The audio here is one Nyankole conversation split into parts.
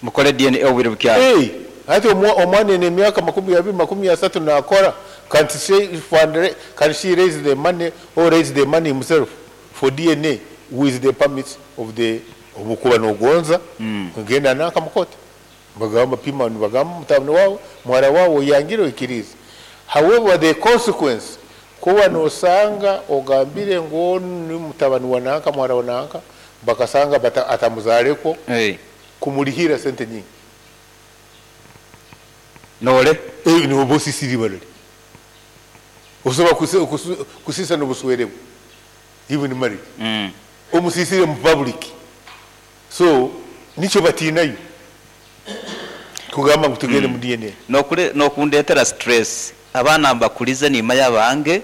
Mukore DNA obwire bukyari. Hey, hati omwana aine emyaka 20, 30 nakora, can't she fund, can she raise the money or raise the money himself for DNA with the permits of the obu okuba nogonza genda nanka mu kooti nibagamba pima nibagamba mutabani waawe, muhara waawe oyangire oikiriize. However the consequence kuba nosanga ogambire ngu onu ni mutabani wa nanka, muhara wa nanka bakasanga atamuzaarekwo kumurihira sente nyingi. Nore? Noba osisire ibara rye. Osobola kusisa nobuswere bwe even marriage. Omusisire omu public. So nikyo batiinayo kugamba ngu tugende mu DNA. Nokundetera stress. Abaana mbakurize nimanya abange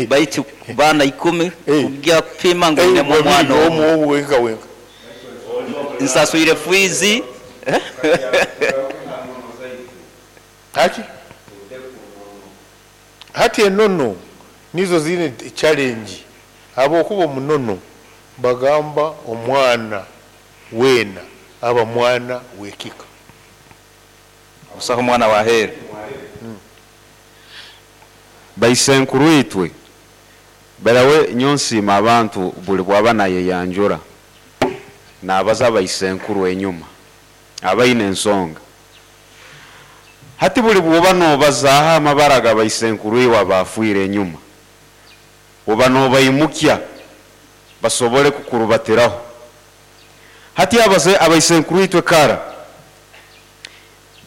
baitu baana ikumi kugya kupima ngu oinemu omwana omu. Wenka wenka. Nsaswire fiizi. Haki? Hati enono nizo ziine challenge ahabwokuba omunono bagamba omwana weena aba mwana wekika. Busaho omwana waheeru. Baisenkuru itwe, barawe nyowe nsiima abantu buri bwaba nayeyanjura nabaza baisenkuru enyuma aba aine ensonga. Hati buri bwoba nobazaaho amabara ga baisenkuru iwe abaafwire enyuma, oba nobaimukya basobole kukurubatiraho. Hati abaisenkuru itwe kara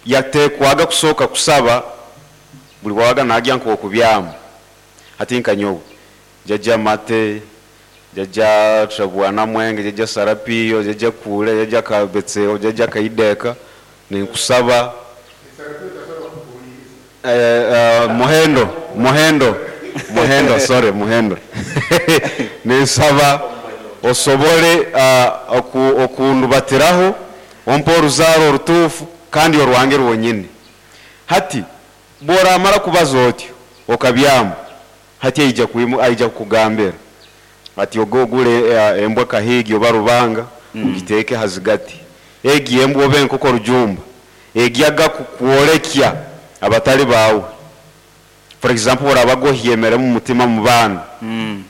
yateekwaga kusooka kusaba buri bwabaga nagya nk'okubyama. Hati nka nyowe, Jajja Mate, Jajja Trabwana Mwenge, Jajja Sarapiyo, Jajja Kuule, Jajja Kabetseo, Jajja Kaideka, ninkusaba Muhendo, Muhendo, Muhendo, sorry, Muhendo. Ninsaba osobole okundubatiraho, ompe oruzaaro orutuufu kandi orwange rwonyini. Hati bworamara kubaza otyo, okabyama, hati aija kukugambira ati oge ogure embwa kahiigi oba rubanga ogiteeke ha zigati. Egi embwa oba enkoko rujumba egyaga kukworekya abatari baawe. For example orabaga ohyemeremu omutima omu baana,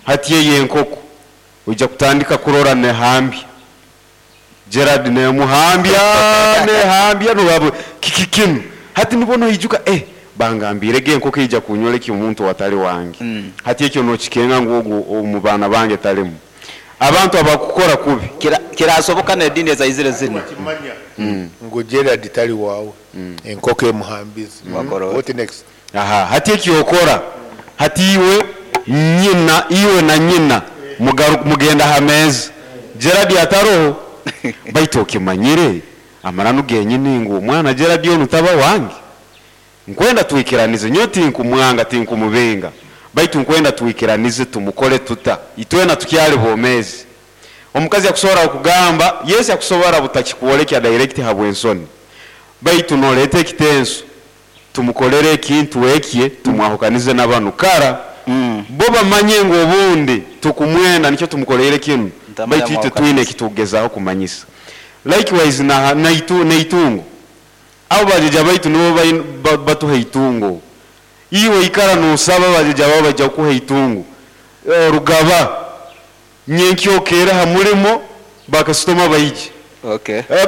hati eyo enkoko oija kutandika kurora nehambya. Gerald nemuhambya nehambya noraba kiki kinu? Hati nibwo noijuka eh bangambiire egi enkoko eija kunyorekya omuntu owatari wange. Hati ekyo nokikenga ngu ogu omu baana bange tarimu. Abantu abakukora kubi. Kirasoboka n'ediini ezaizire zinu. Wakimanya ngu Gerald tari waawe, enkoko emuhambize. What next? Aha, hati ekyokora, hati iwe nyina, iwe na nyina mugenda aha meeza. Gerald ataroho, baitu okimanyire amananu genyini ngu omwana Gerald onu taba wange? Nkwenda twikiranize, nyowe tinkumwanga, tinkumubinga, baitu nkwenda twikiranize tumukore tuta, itwena tukyali bomeezi. Omukazi akusobora kugamba, yes akusobora butakikworekya direct habw'ensoni, baitu noreeta ekitenso, tumukorere ekintu ekye, tumwahukanize na banu. Kara bo bamanye ngu obundi tukumwenda nikyo tumukoreire kinu, baitu itwe twine ekitukugezaho kumanyisa. Likewise n'eitungo, abo bajeja baitu nibo batuha eitungo. Iwe ikara nosaba bajeja bawe baija kukuha eitungo. Rugaba nyenkya okeere aha murimo bakasitoma baije.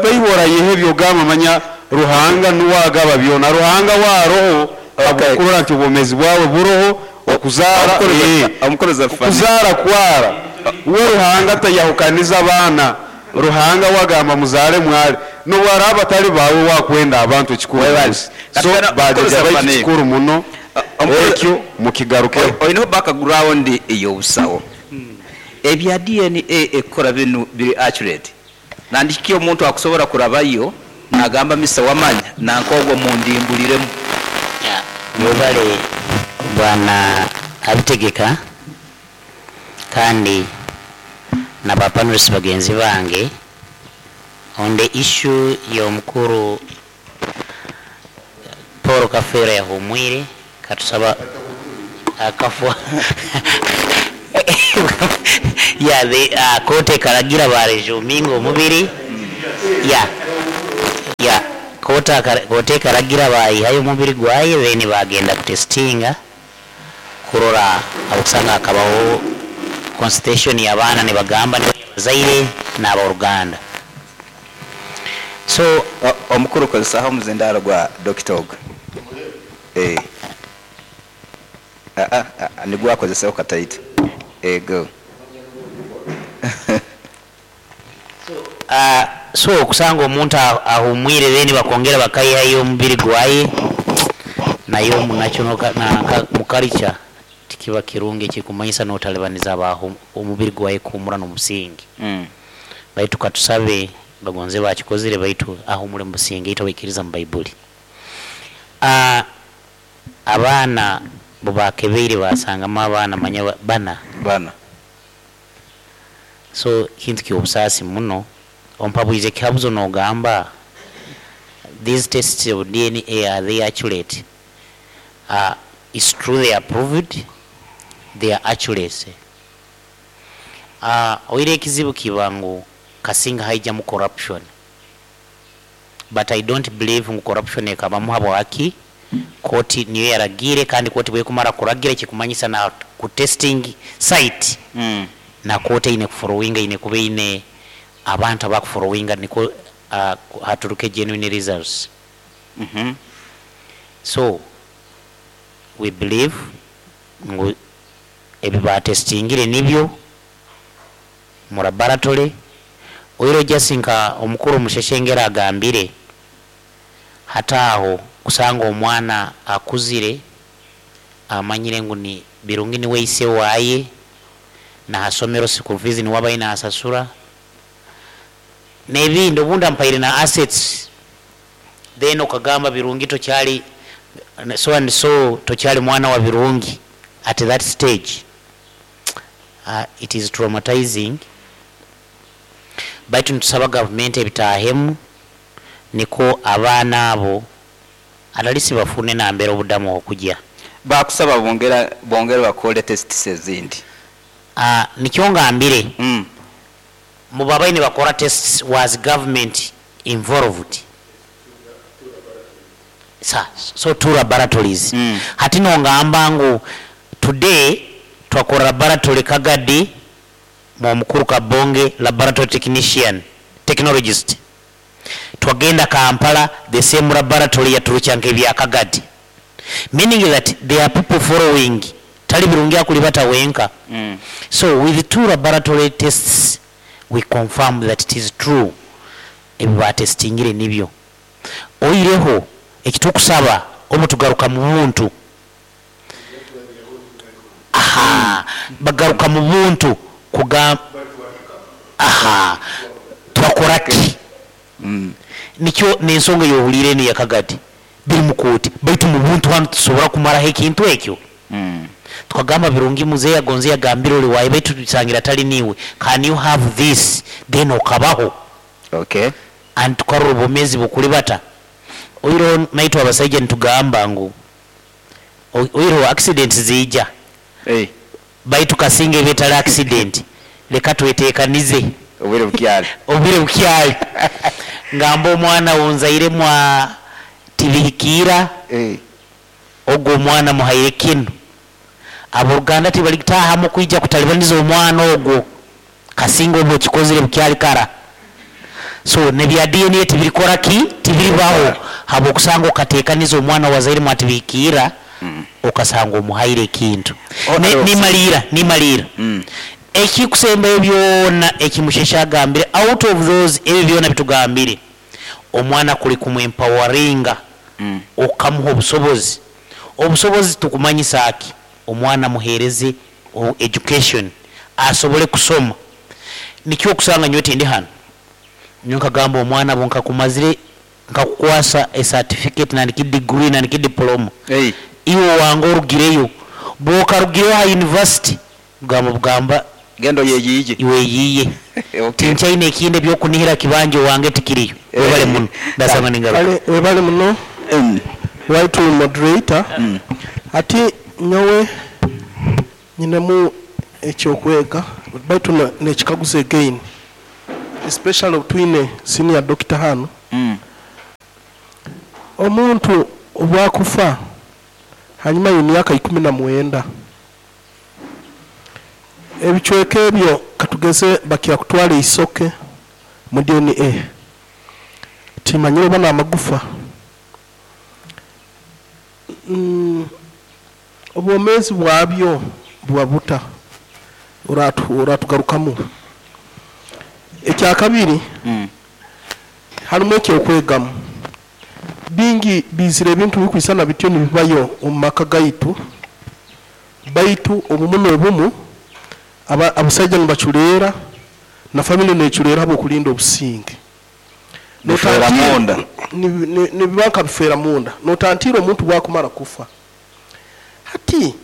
Baihu orayehebya ogamba manya Ruhanga nuwe agaba byona. Ruhanga we aroho ahabw'okurora nti obwomeezi bwawe buroho, okuzaara, okuzaara kwara. We Ruhanga tayahukaniza abaana. Ruhanga we agamba muzaare mware. N'obu araaba atari baawe we akwenda abantu ekikuru munsi. So bajaja baitu kikuru muno ekyo mukigarukeho. Oineho background ey'obusawo. Ebya DNA ekukora binu biri accurate? Nandiki omuntu akusobora kurabayo nagamba Mister Wamanya nanka ogwo mundimburiremu. Mwebale Bwana Abitegeka kandi na ba panelists bagenzi bange on the issue y'omukuru Paul Kafeero yahumwire katusaba akafwa yeah the kooti ekaragira ba resuminga omubiri yeah yeah. Kooti ekaragira baihayo omubiri gwaye then bagenda kutesitinga kurora habwokusanga hakabaho consultation y'abaana nibagamba abazaire n'aboruganda. So Omukuru kozesaho omuzindaaro gwa dokita ogu. Eh. Ah, ah, ah, nigwo akozeseho kataito. Eh, go. So okusanga omuntu ahumwire then bakongera bakaihayo omubiri gwaye nayo nakyo nanka mu culture tikiba kirungi, ekikumanyisa notalibaniza abahu omubiri gwaye kuhumura n'omusingi. Baitu katusabe bagonze bakikozire, baitu ahumure mu businge itwe abaikiriza mu Baibuli. Abaana bubakebeire basangamu abaana manya bana. Bana. So kintu ky'obusaasi muno. Ompabwize ekihabuzo nogamba these tests of DNA, are they accurate? It's true, they are proved they are accurate. Oire ekizibu kiba ngu kasinga haijamu corruption, but I don't believe ngu corruption ekabamu. Habwaki? Kooti niyo yaragiire, kandi kooti bwekumara kuragira ekikumanyisa na ku testing site na kooti eine kufollowinga, eine kuba eine abantu abakufollowinga niko haturuke genuine results. So we believe ngu ebi batestingire nibyo mu laboratory. Oiro just nka omukuru Musheshengera agambire, hataaho kusanga omwana akuzire amanyire ngu ni Birungi niwe ise waye, nahasomero school fees niwe abaye nahasasura nebindi, obundi ampaire na assets, then okagamba Birungi tokyali so and so, tokyali mwana wa Birungi at that stage. It is traumatizing, baitu nitusaba gavumenti ebitahemu niko abaana abo atalisi bafune nambera obudamu okujya. Bakusaba bongera bongere bakole tests ezindi. Nikyo ngambire, mubabayi nibakora tests, was government involved? So two laboratories. Hati nongamba ngu today twakora laboratory Kagadi mu mukuru Kabonge laboratory technician, technologist, twagenda Kampala, the same laboratory yaturukya nk'ebya Kagadi, meaning that there are people following, tali Birungi akulibata wenka. So with two laboratory tests we confirm that it is true, ebyo batestingire nibyo. Oireho ekitukusaba obu tugaruka mu buntu, aha bagaruka mu buntu kuga aha twakora ki? Nikyo nensonga yohulire eno yakagadi biri mukooti, baitu mu buntu hanu tusobora kumaraho ekintu ekyo. Tukagamba Birungi muzeeyi agonze yagambire oli waye, baitu tusangira tali niwe, can you have this then okabaho? And tukarora obwomezi bukulibata. Oireho naitwe abasaija nitugamba ngu oireho accident ziija. Hey. Baitu kasinga ebetali accident, leka twetekanize obwire bukyali. Obwire bukyali. Ngamba omwana wonzaire mwa tibihikiira. Hey. Ogwo omwana muhaire kinu, aboruganda tibalikutahamu kwija kutalibaniza omwana ogwo, kasinga obwo okikozire bukyali kara. So nebya DNA tibirikora ki, tibiribaho, habwokusanga okatekaniza omwana wazaire mwatibihikiira. Okasanga omuhaire ekintu. Oh, Nimaliira, nimaliira. Ekikusembayo byona ekimushesha agambire, out of those ebyo byona bitugambire, omwana kuli kumwempoweringa, okamuha obusobozi. Obusobozi tukumanyisa ki? Omwana muhereze education asobole kusoma. Nikyo okusanga nyowe tindi hano, nyowe nkagamba omwana bo nkakumazire nkakukwasa a certificate nandiki degree nandiki diploma. Hey. Iwe wange orugireyo, bwokarugireyo ha university bugamba bugamba gendo yeyiye. Iwe yiye. Tinchaine ekindi ebyokunihira kibanja wange tikiriyo. Webale muno, ndasanga ningaruka. Kale webale muno. Right moderator. Ati nyowe nyinemu ekyokwega, baitu nekikaguzo again, especially twine senior doctor hano. Omuntu obu akufa hanyuma y'emyaka 19, ebicweka ebyo katugeze bakira kutwara eisoke mu DNA, timanyire oba n'amagufa. Obwomeezi bwabyo buba buta? Oratugarukamu. Ekyakabiri, harimu eky'okwegamu. Bingi biizire ebintu bikwisana bityo nibibayo omu maka gaitu, baitu obumu n'obumu abasaija nibaculeera na family neculeera habw'okulinda obusinge. Bifeera munda. Nibiba nka bifeera munda. Notantiira omuntu bwakumara kufa. Hati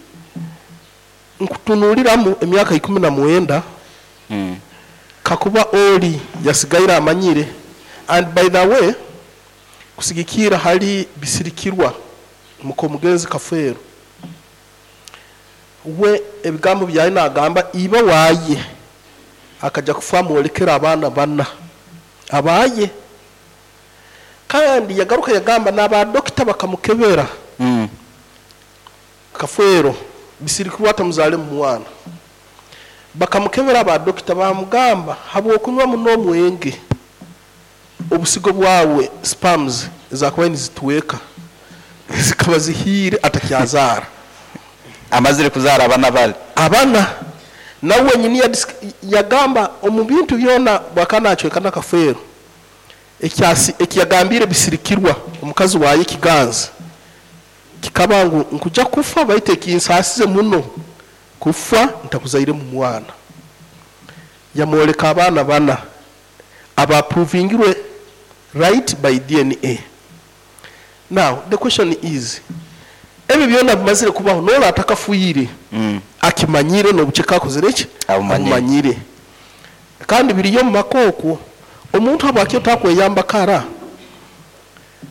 nkutunuuliramu emyaka 19, kakuba ori yasigaire amanyire, and by the way, kusigikiira hali Bisirikirwa mukomugenzi Kafeero, we ebigambo byaye nagamba iba waye akaja kufa amwolekera abaana bana abaye, kandi yagaruka yagamba n'aba dokita bakamukebera Kafeero Bisirikirwa atamuzalemu mwana, bakamukebera aba dokita bamugamba habw'okunywa muno omwenge obusigo bwawe sperms ezakubaire nizitweka zikaba zihiire atakyazaara. Amazire kuzaara abana bali. Abana nawe wenyini yagamba omu bintu byona bwakaba nacweka na Kafeero ekiyagambire Bisirikirwa omukazi waye Kiganzi kikaba ngu nkuja kufa baitu ekinsaasize muno kufa ntakuzairemu mwana. Yamwoleka abaana bana abaprovingirwe right by DNA. Now the question is, ebyo byona bimazire kubaho nola atakafuire akimanyire n'obuceka akozire ki? Abumanyire. Abumanyire. Kandi biriyo mu maka okwo omuntu habwaki otakweyamba kara?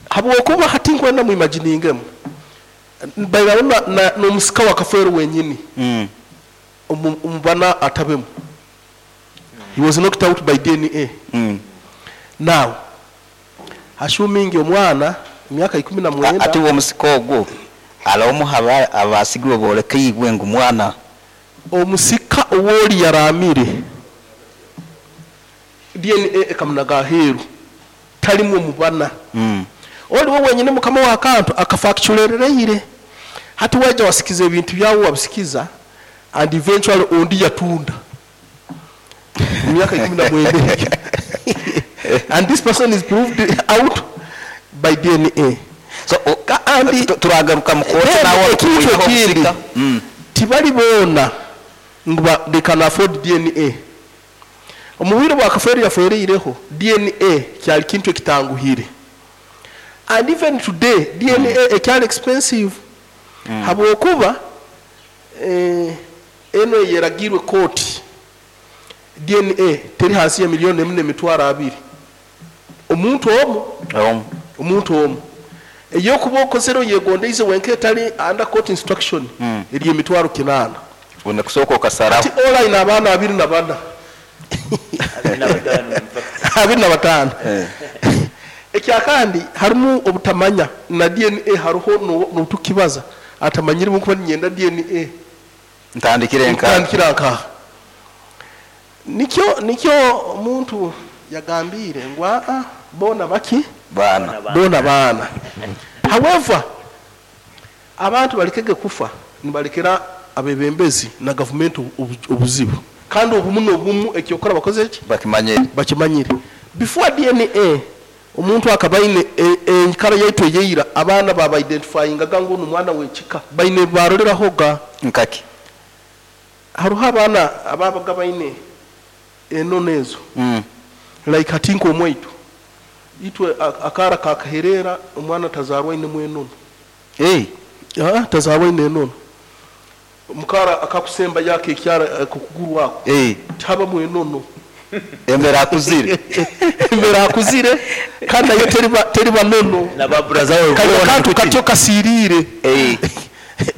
Habwokuba hati nkwenda muimaginingemu bairaho n'omusika wa Kafeero wenyini omubana atabemu. He was knocked out by DNA. Now, assuming omwana emyaka 19, Ati uwo omusika ogwo alaomu abasigirwe bolekeibwe ngu mwana omusika owoli yaramire DNA ekamunaga aheeru talimu omubana. Oliwo wenyini mukama wa kantu akafakiculerereire hati waija wasikiza ebintu byawe wabisikiza and eventually ondi yatunda emyaka 19 and this person is proved out by DNA. So Kandi turagaruka mu kooti Then nawe ekintu okuyihaho ekindi, omusika. tibali boona ngu they can afford DNA. Omu bwire bwa Kafeero yafereireho DNA kyali kintu ekitanguhire, and even today DNA ekyali expensive habwokuba eno eyeragirwe kooti DNA teri hansi ya 1,200,000 omuntu omu. Omu. Omuntu omu eyokuba okozere oyegondeize wenka etali under court instruction eri 800,000. Una kusooka okasaraho. Ati ola ina abaana 24. 25. Ekyakandi harimu obutamanya na DNA hariho n'otukibaza atamanyire nkuba ninyenda DNA. Ntandikire nka. Ntandikira nka. Nikyo omuntu yagambire ngu aa bona baki? Bana. Bona bana. However, abantu balikege kufa nibalekera abebembezi na government obuzibu. Kandi obumu n'obumu ekyokora bakoze ki? Bakimanyire. Bakimanyire. Before DNA omuntu akabaine enkara yaitu eyeira abaana baba identifyingaga ngu omwana w'ekika baine baroreraho ga nkaki. Hariho abaana ababaga baine enono ezo. Like hati nk'omwaitu itwe akara kakaherera omwana tazarwa aine mwenono. Tazarwa aine enono. Mukara akakusemba yake ekyara kukuguru wako. Taba mwenono. Embera akuzire. Embera akuzire kandi nayo teriba nono. Na babura zawe Kali ubona akantu kuti. katyo kasirire.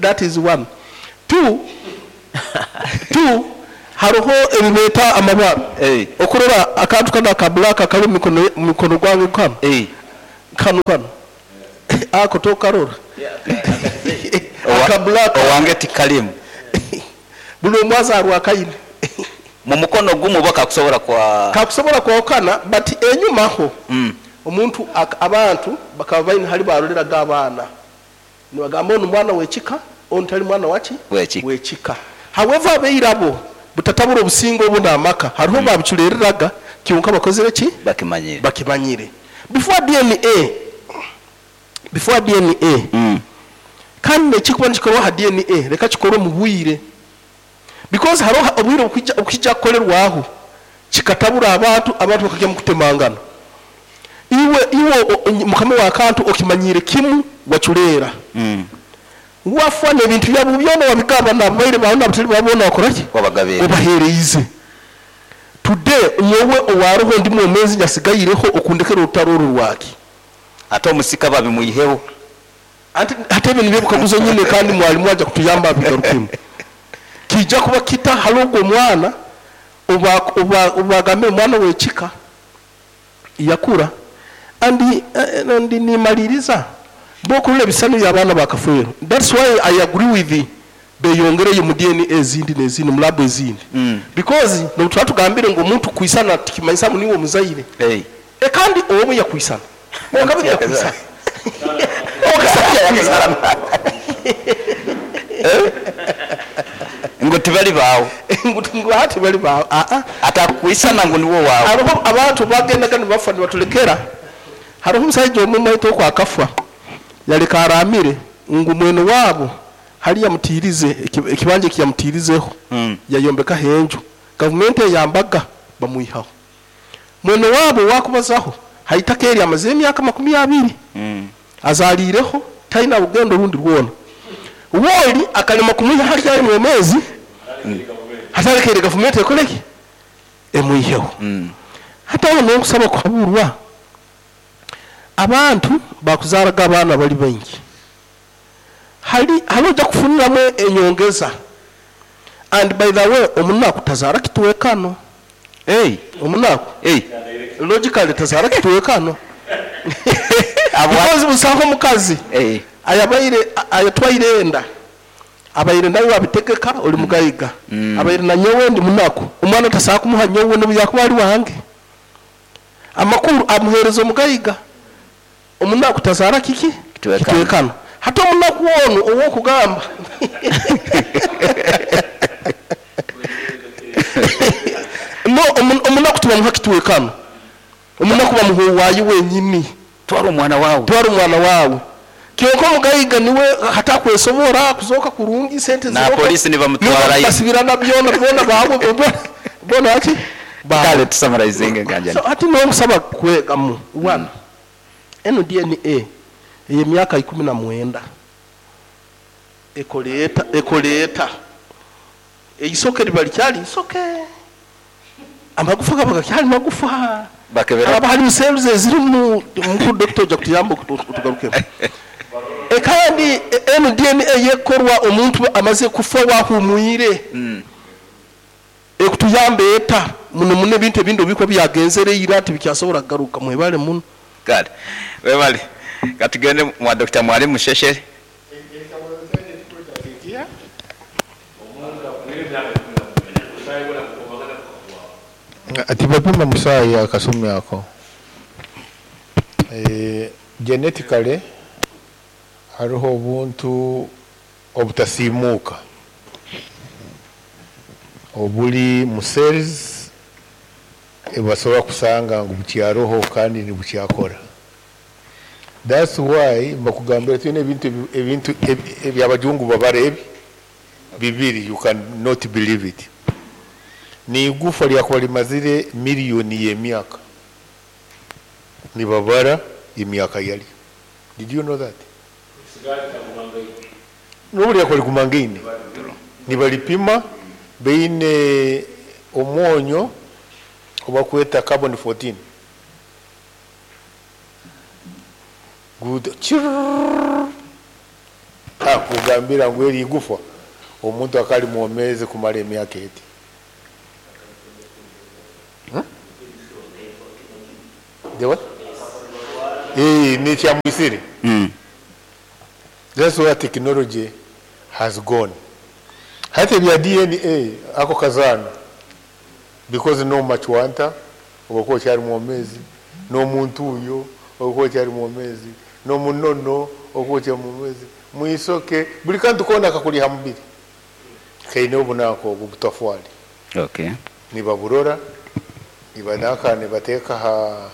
That is one. Two, hariho ebibeta amabara. Okurora akantu kana ka black akari mu mikono gwange kano. Kano kano. Ako tokarora. Aka black. Owange tikalimu. Buli omu azaarwa akaine. Mu mukono gumu bo kakusobora kwa. Kakusobora kwahukana but enyumaho omuntu abantu bakaba baine hali baroreraga abaana. Nibagamba onu mwana w'ekika, onu tali mwana waki? W'ekika. W'ekika. However abairabo butatabura obusinge obu n'amaka hariho obu babiculereraga kyonka bakozire ki? Bakimanyire. Bakimanyire. Before DNA, before DNA, kandi n'ekirikuba nikikorwa aha DNA reka kikorwe omu bwire because hariho obwire obukwija obukiija kukorerwaho kikatabura abantu, abantu bakagya omu kutemangana. Iwe iwe mukama wa kantu okimanyiire kimu wacureera. Wafa n'ebintu byabo byona wabigaba n'ababaire baawe n'abatari baawe boona wakora ki? Wabagabiire. Obaheereize. Today nyowe owaaroho ndi mwomeezi nyasigaireho okundekera orutaro oru rwaki? Ate omusika babimwiheho. Anti hati ebyo nibyo ebikaguzo nyine kandi mwalimu aja kutuyamba abigarukemu. Kiija kuba kita hali ogwo omwana obu obu bagambire omwana w'ekika yakura and and nimaliiriza bo okurora ebisani by'abaana ba Kafeero that's why I agree with beyongereyo mu DNA ezindi n'ezindi mu lab ezindi because n'obu turaba tugambire ngu omuntu kwisana tikimanyisa ngu niiwe omuzaire. Kandi obu yakwisana kwonka buri yakwisana Ngu tibali baawe. Ngu aa tibali baawe aa. Atakukwisana ngu niwe owaawe. Haroho abantu bagendaga nibafa nibatulekera, haroho omusaija omu omwaitu oku akafa yaleka araamire ngu mwene waabo hali yamutiirize ekibanja eki yamutiirizeho yayombekaho enju, gavumenti eyambaga bamwihaho. Mwene waabo owaakubazaho ha itaka eri amazire emyaka makumi abiri azaaliireho, taina rugendo rundi rwona. Woli akalema kumwiha hali ali mwomeezi, hati alekeire gavumenti ekole ki? Emwiheho. Hati aho nonkusaba kuhaburwa, abantu baakuzaaraga abaana bali baingi, hali hali oja kufuniramu enyongeza and by the way omunaku tazaara kitwekano. Hey. Omunaku Hey. logically tazaara kitwekano because busaho omukazi Hey. ayabaire ayatwaire enda abaire nawe abitegeka ori mugaiga abaire na nyowe ndi munaku omwana tasobola kumuha nyowe nobu yakuba ari wange amakuru amuhereza omugaiga. Omunaku tazaara kiki? Kitwekano. Kitwekano. Hati omunaku onu ow'okugamba no omunaku tibamuha kitwekano. Omunaku bamuha owaaye wenyini. Twara omwana waawe. Twara omwana waawe. Kyonka omugaiga niwe hati akwesobora kuzooka kurungi sente Na ziroho. polisi nibamutwarayo. Basibirana byona boona baawe boona ki? Baawe. Kale tusamarizinge nganjani. So hati nomusaba kwegamu one enu DNA ey'emyaka 19 ekoleeta ekoleeta eisoke riba rikyari isoke amagufa gaba gakyari magufa Bakebera. Haraba harimu cells ezirimu mukuru doctor oja kutuyamba otugarukemu. Kandi enu DNA yekorwa omuntu amaze kufa wahumwire. Ekutuyamba eta muno muno ebintu ebindi obikuba byagenzere ira tibikyasobora kugaruka mwebale muno. Kale webale katugende mwa Dr. Mwalimu Sheshe. Tibapima musaayi akasumi ako. Genetically hariho obuntu obutasiimuuka oburi mu cells ebasobola kusanga ngu bukyaroho kandi nibukyakora. That's why mbakugambira twine ebintu ebintu ebyabajungu babara ebi bibiri, you cannot believe it. Ni igufa lyakuba limazire miliyoni y'emyaka nibabara emyaka yali. Did you know that? N'obu lyakuba ligumangaine nibalipima beine omwonyo obakweta carbon 14 good akugambira ngu eri igufa omuntu akali mwomeze kumara emyaka eti. The what? Ni kyamwisire. That's where technology has gone. Hati ebya DNA ako kazaano because n'omumacwanta oba okyari mwomeezi, n'omuntuuyo oba okyari mwomeezi, n'omunono oba okyari mwomeezi, mwisoke, buri kantu koona akakuri aha mubiri kaine obunanka obwo obutafwari. Okay. Nibaburora, nibananka nibateeka aha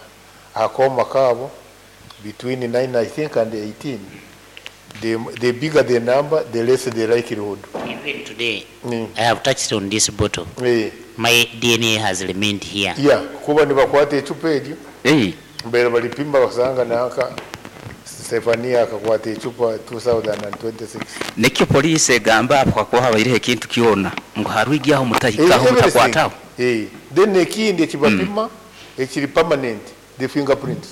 aha kooma kaabo between 9 I think and 18. The, the bigger the number, the less the likelihood. Even today, I have touched on this bottle. Eh, My DNA has remained here. yeah, kuba nibakwata ecupa eryo Ei, mbere balipima basanga nanka Stefania akakwata ecupa 2026. nikyo poliisi egamba apo kakuba habaireho ekintu kyona ngu harwigyaho mutahikaho Eh, mutakwataho. Eh, then ekindi ekibapima ekiri permanent, the fingerprints.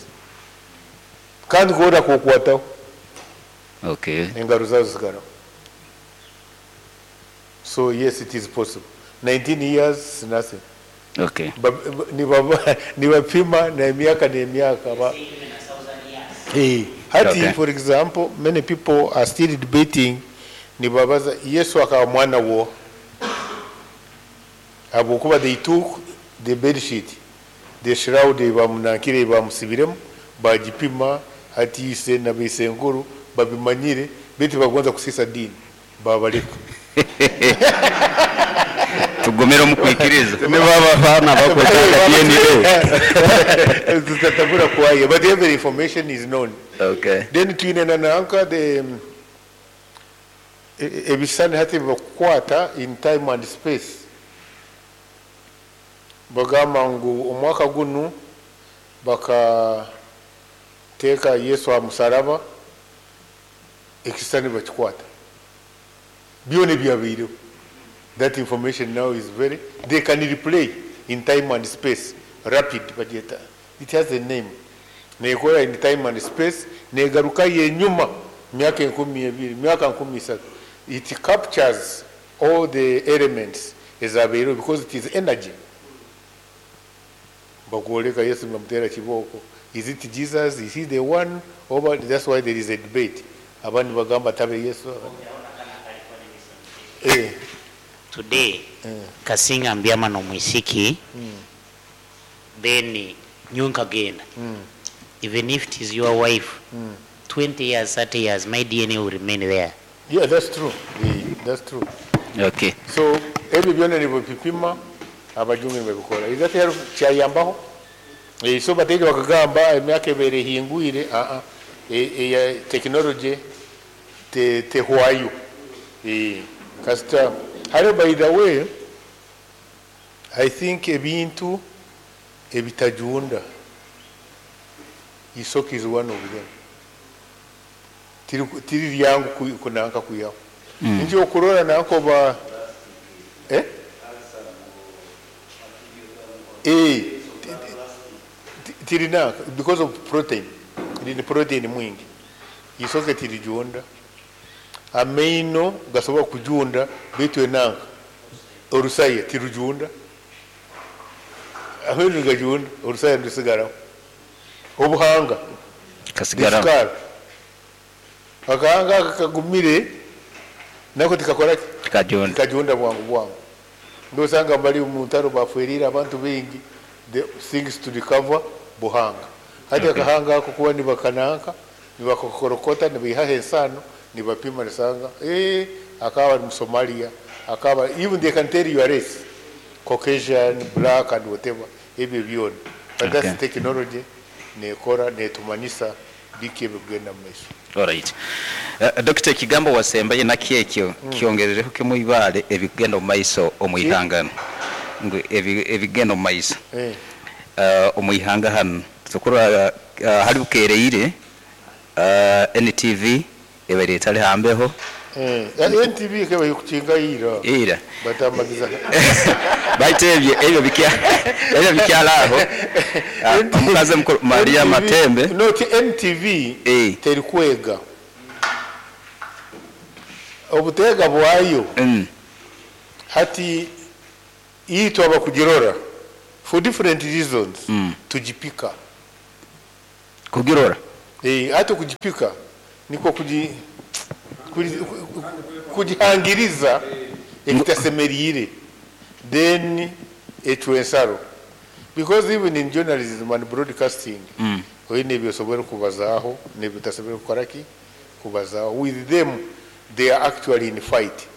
Kandi kora kukwataho Okay. engaro zazo zigaraho. So yes, it is possible. 19 years is nothing. Okay. Nibapima n'emyaka n'emyaka ba Eh, hati Okay. for example many people are still debating nibabaza Yesu akaba mwana wo habwokuba they took the bed sheet the shroud bamunankire bamusibiremu bagipima hati ise na beisenkuru babimanyire baitu bagonza kusisa dini babaleka. Tugumire omu kwikiriza. Nibaba abaana bakwetaaga DNA. Tutatabura kwayo, but every information is known. Okay. Then twine na nanka the ebisani hati bakukwata in time and space. Bagamba ngu omwaka gunu bakateeka Yesu aha musaraba, ekisani bakikwata. Byona ebyabaireho. That information now is very, they can replay in time and space, rapid, but yet, it has a name. Nekora in time and space, negaruka yenyuma, myaka 20, myaka 30. It captures all the elements ezabeire because it is energy. Bakuoleka Yesu bamutera kiboko. Is it Jesus? Is he the one? Oba, that's why there is a debate. Abandi bagamba tabe Yesu. Eh. Today, kasinga mbyama n'omwisiki, then nyowe nkagenda. Even if it is your wife, 20 years, 30 years, my DNA will remain there. Yeah, that's true. Yeah, that's true. Okay. So ebyo byona nibabipima abajungu nibabikora. Is that help kyayambaho? Eh, so bateje bakagamba emyaka ebere ehingwire a a eya technology te tehwayo. Eh, kasita hariho by the way I think ebintu ebitajunda isoke is one of them. Tiri ryangu kunanka kuyaho. Nje okurora nanko ba eh? Eh, tirina because of protein. Rine protein mwingi. Isoke tirijunda. Amaino gasobola kujunda bitu enanka. Orusaye tirujunda. Amaino gajunda, orusaye ndusigaraho. Obuhanga Kasigara. Disikara. Akahanga kagumire nako tikakora ki? Kajunda. Tikajunda bwangu bwangu. Ndosanga bali mu ntaro bafwerire abantu bingi the things to recover buhanga. Hati Okay. akahanga ako kuba nibakananka nibakokorokota nibihaha ensano nibapima nisanga eh akaba ari mu Somalia akaba even they can tell your race Caucasian black and whatever ebyo byona. But Okay. that's technology nekora netumanyisa biki ebikugenda mu maiso. Alright. Dr. ekigambo wasembaye nakyo ekyo kyongerereho kimu ibale ebigenda omu maiso omu ihangano. Ngu ebigenda omu maiso. Eh. Omu ihanga hanu tukurora hali bukereire NTV ebaire etali hambeho. Eh, NTV keba ikukinga ira. Ira. Batamagiza. Baitu ebyo bikya ebyo bikyala aho. Omukazi mukuru Maria NTV Matembe. No, NTV Eh. terikwega. Obutega bwayo. Hati itwa abakugirora for different reasons tujipika. Kugirora? Eh, hata kujipika niko kuji Kugihangiriza ekitasemeriire then ecwa ensaro because even in journalism and broadcasting oine ebi osobora kubazaaho n'ebi otasobora kukora ki? Kubazaaho. With them they are actually in fight.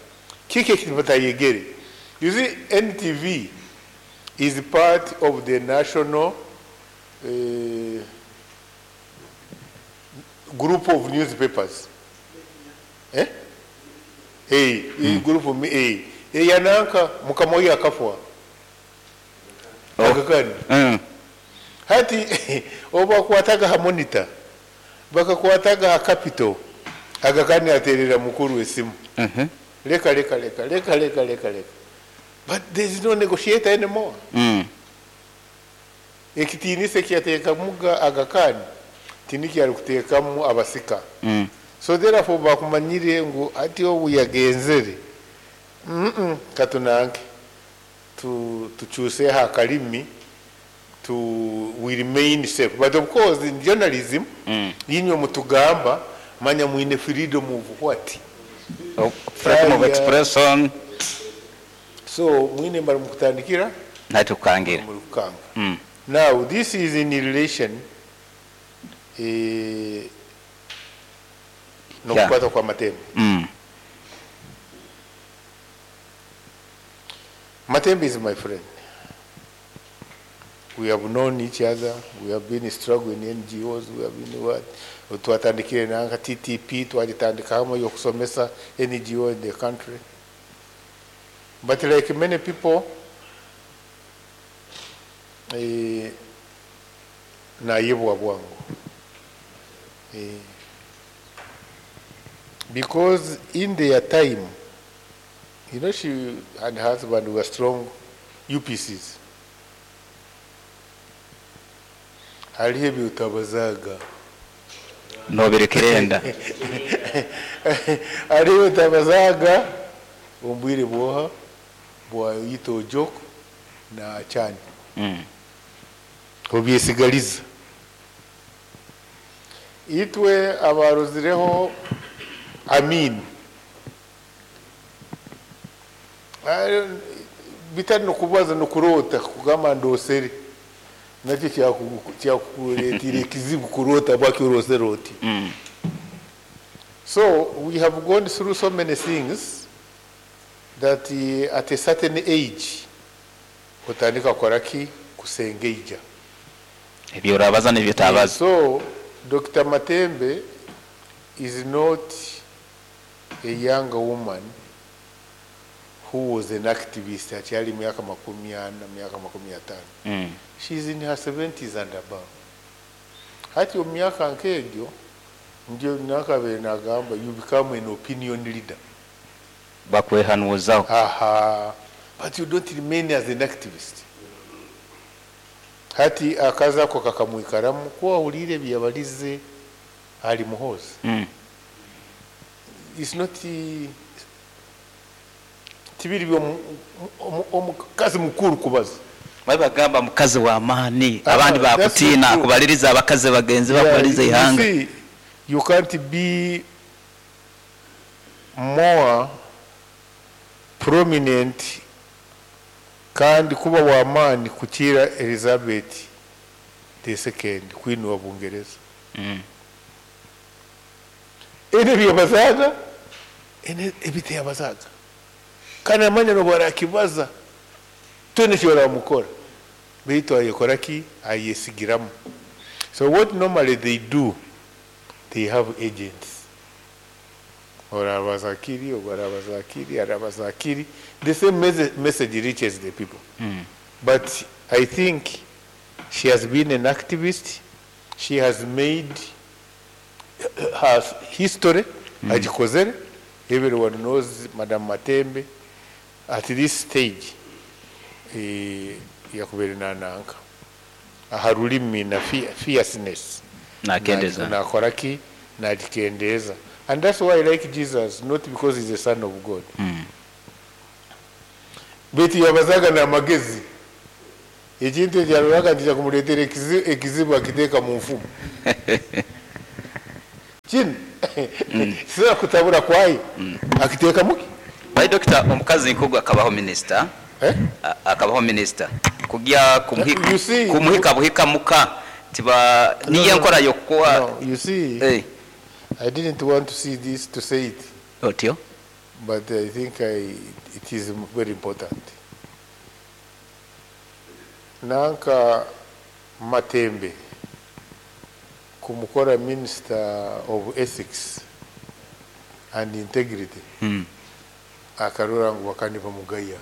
Kiki eki batayegere? You see NTV is part of the national group of newspapers. Eh? Hey, group of eh, eyananka mukama oyo akafwa. Oh. Agakani. Hati obu bakwataga ha Monitor, bakakwataga ha Capital, Agakani aterera mukuru esimu. Leka leka leka leka leka leka leka. But there is no negotiator anymore. Ekitiinisa ekiyateekamuga Agakani tinikyo arikuteekamu abasika. So therefore bakumanyire ngu hati obu yagenzere, katunanke tukyuseho akarimi to we remain safe. But of course in journalism, inywe mutugamba manya mwine freedom of what? Oh, freedom of Aya. expression. So mwine bari mukutandikira Natukangira. muri kukanga. Now this is in relation nokukwata kwa Matembe. Matembe is my friend. We have known each other. We have been struggling in NGOs. We have been what? Twatandikire nanka TTP, twagitandika hamwe yokusomesa NGO in the country. But like many people, nayebwa bwangu. Because in their time, she and her husband were strong UPCs. Hariho ebi utabazaga. Nobirekerenda. Hariho utabazaga ombwire bwoha bwa yito Ojok na Achani. Obyesigaliza. Itwe abarozireho Amin. Bitari no kubaza no kurota kugamba ndosere. Nakyo kyakukuretire ekizibu kurota bwaki orosere oti. So we have gone through so many things that at a certain age otandika kukora ki? Kusengeija. Ebyo orabaza n'ebyo otabaza. So Dr. Matembe is not a young woman who was an activist akyali myaka makumi ana, myaka makumi atano. She's in her 70s and above. Hati omu myaka nk'egyo ndio nakabaire nagamba you become an opinion leader. Bakwehanuuzaho. Aha. But you don't remain as an activist. Hati akaza ako kakamwikaramu kuba wahuriire ebi yabarize ari Muhoozi. It's not tibiri omukazi mukuru kubaza. Bari bagamba mukazi wa maani, abandi That's bakutiina, not true. kubaliriza abakazi bagenzi Yeah, bakubaliriza you ihanga. see, you can't be more prominent kandi kuba wa maani kukira Elizabeth the second queen wa Bungereza. Ene byabazaga, ene ebiteyabazaga. Kandi amanya no barakibaza. Twene kyo mukora. Beitu ayekora ki ayesigiramu. So what normally they do, they have agents. Orabazakiri, orabazakiri, arabazakiri. The same message reaches the people. But I think she has been an activist. She has made her history. Agikozere. Everyone knows Madam Matembe. At this stage, yakubere nananka. Aha rulimi na fierceness. Nakendeza. Nakora ki? Nakendeza. And that's why I like Jesus, not because he's the son of God. Beti yabazaga na magezi. Ekintu ekyaroraga nti kyamuleetera ekizibu akiteeka mu nfumu. Kinu. Tisobola kutabura kwayo akiteekamu ki? Bai Dokita omukazi nk'ogu akabaho minisita, Eh? akabaho minisita kugya You see, kumuhika buhika muka tiba no, niyo no, enkora y'okukuwa no, you see, Eh, I didn't want to see this to say it, otyo but I think it is very important. Nanka Matembe kumukora Minister of Ethics and Integrity akarora ngu bakaba nibamugaya.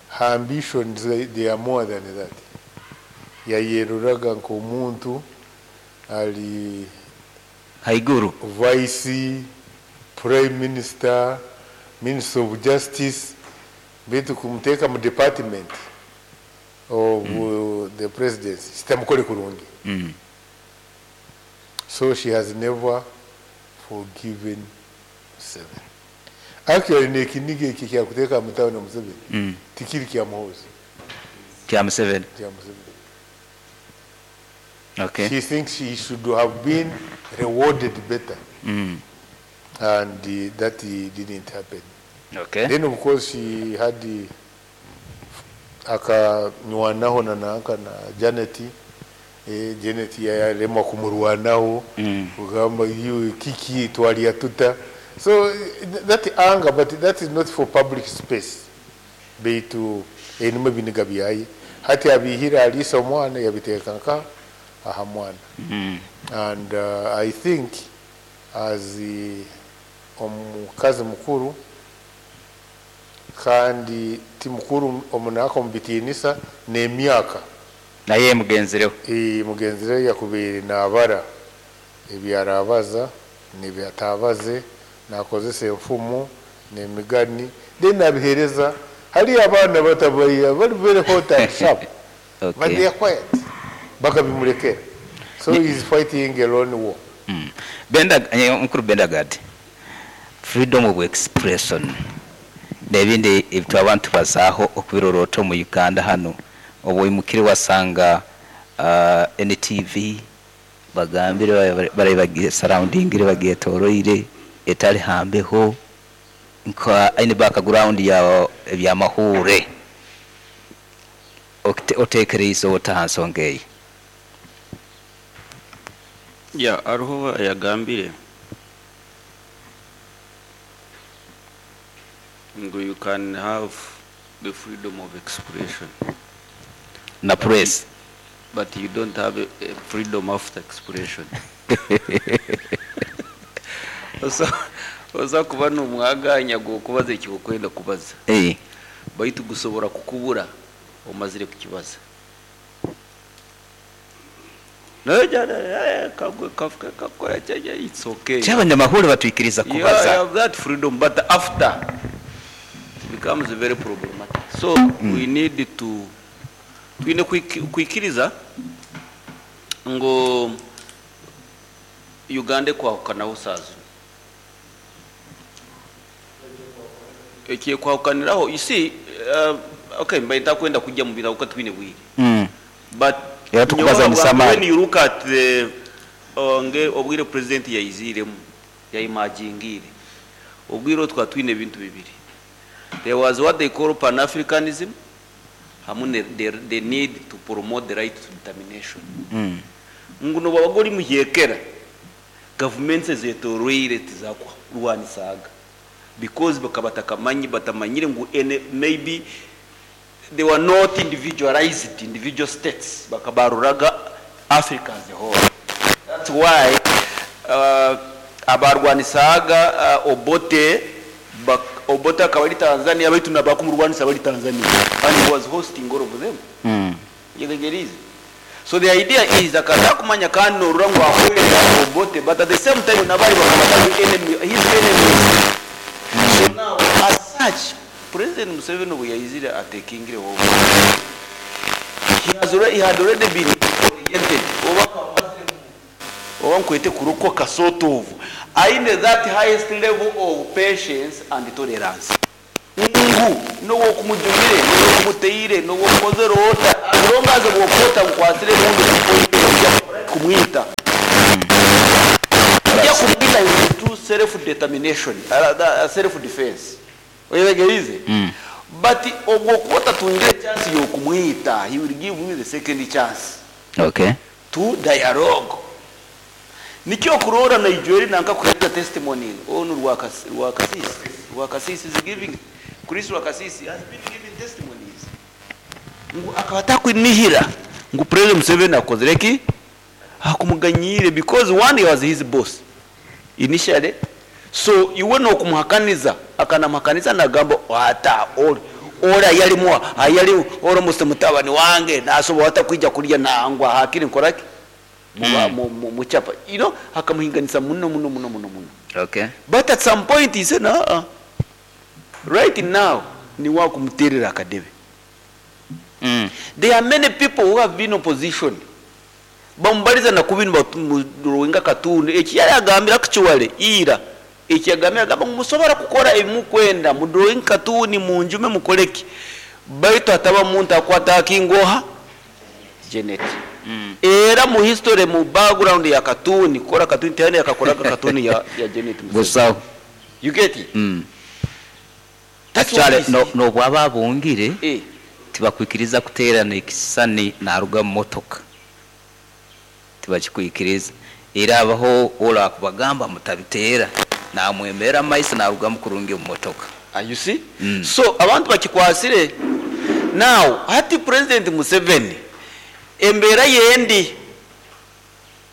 Her ambitions, they are more than that. Yayeruraga nk'omuntu ali haiguru Vice Prime Minister, Minister of Justice, baitu kumuteeka mu department of the presidency kitamukore kurungi. So she has never forgiven Museveni. Actually n'ekiniga eki kyakuteeka mutabani Museveni tikiri kya Muhoozi, kya Museveni. kya Museveni. Okay. She thinks she should have been rewarded better. And that didn't happen. Okay. Then of course she had akanywanaho na nanka na Janet. Janet yalemwa kumurwanaho kugamba you kiki twalya tuta. So that anger, but that is not for public space. Beitu enuma biniga byaye hati abihira alisa omwana yabiteeka nka aha mwana. And I think as omukazi mukuru kandi ti mukuru omunaka omubitiinisa n'emyaka naye mugenzireho mugenzireho yakubaire naabara ebyarabaza n'ebyatabaze nakozesa enfumu n'emigani then nabihereza hali abaana batabaiya bali very hot and sharp. Okay. But they are quiet bakabimulekera, so he is fighting a lone war. Benda mukuru Bendagad, freedom of expression n'ebindi ebyo abantu bazaaho okubirorota omu Uganda hanu obu oimukire wasanga NTV bagambire bari bagiye surrounding bagyetoroire etali hambeho nka aine background ya ebyamahure otekereize ota ha nsonga eyi? Ya, hariho ayagambire ngu you can have the freedom of expression na press, but you don't have a freedom after expression. Oza kuba n'omwaganya gw'okubaza ekyokwenda kubaza baitu gusobora kukubura omazire kukibaza. It's okay. Kyabanyamahuri batwikiriza Yeah, kubaza. you have that freedom, but after it becomes very problematic. So we need to twine kwikiriza ngo Uganda kwahukanaho saazo ekiye kwahukaniraho, you see, okay, mbaye ntakwenda kujya mu birago twine bwire. But Era tukubaza nyowe musamali. when you look at the nge obwire president yayiziremu yayimagingire obwire twa twine ebintu bibiri. There was what they call pan-Africanism hamwe ne the need to promote the right to determination. Nguno babagori muhyekera governments zetoroire tizakurwanisaga because bakabatakamanyi batamanyire ngu ene, maybe they were not individualized individual states, bakabaruraga Africa as a whole. That's why abarwanisaga Obote Obote akaba ari Tanzania baitu nabakumurwanisa bari Tanzania, and he was hosting all of them. Yetegereze. So the idea is akaza kumanya kandi norura ngo akwera Obote, but at the same time nabari bakabata enemy, his enemies. So now as such President Museveni obu yaizire atekingire over, he had already been oriented oba nkwete kurokoka sort of aine that highest level of patience and tolerance ngu nowokumujumire nowokumuteyire nowokukozere ota as long as bwokota nkwasire mundu kumwita. self determination, self defense. Oyetegeriize? But obwo okuba otatungire chance y'okumwita, he will give you the second chance Okay. to dialogue. Nikyo okuroora naija eri nanka kuhereza testimony onu Rwakasiisi. Rwakasiisi is giving, Chris Rwakasiisi has been giving testimonies ngu akaba atakunihira ngu President Museveni akozire ki? Akumuganyiire because one he was his boss initially so iwe nokumuhakaniza akanamuhakaniza nagamba ata ori ayarimu ayari almost mutabani wange nasobora ata kwija kurya nangwa hakiri nkoraki muchapa you know akamuhinganisa muno muno muno muno muno. Okay. But at some point he said uh-uh. Right now niwe akumuterera akadebe. There are many people who have been opposition bamubariza na kubi nibamudrowinga katuuni eki yayagambire actually ira eki yagambire agamba ngu musobora kukora ebi mukwenda mudrowinge katuuni munjume mukoreki baitu hataba muntu akuatakinga oha Janet era mu history mu background ya katuuni kukora katuuni tihariho yakakoraga katuuni ya ya Janet Museveni Busaho. you get it that's what Actually is n'obu aba abungire eh tibakwikiriza kuteerana ekisisani naruga omu motoka. Tibakikwikiriza. Era habaho orakubagamba mutabiteera namwemerera omu maiso narugamu kurungi omu motoka. You see? So abantu bakikwasire now hati President Museveni embeera yendi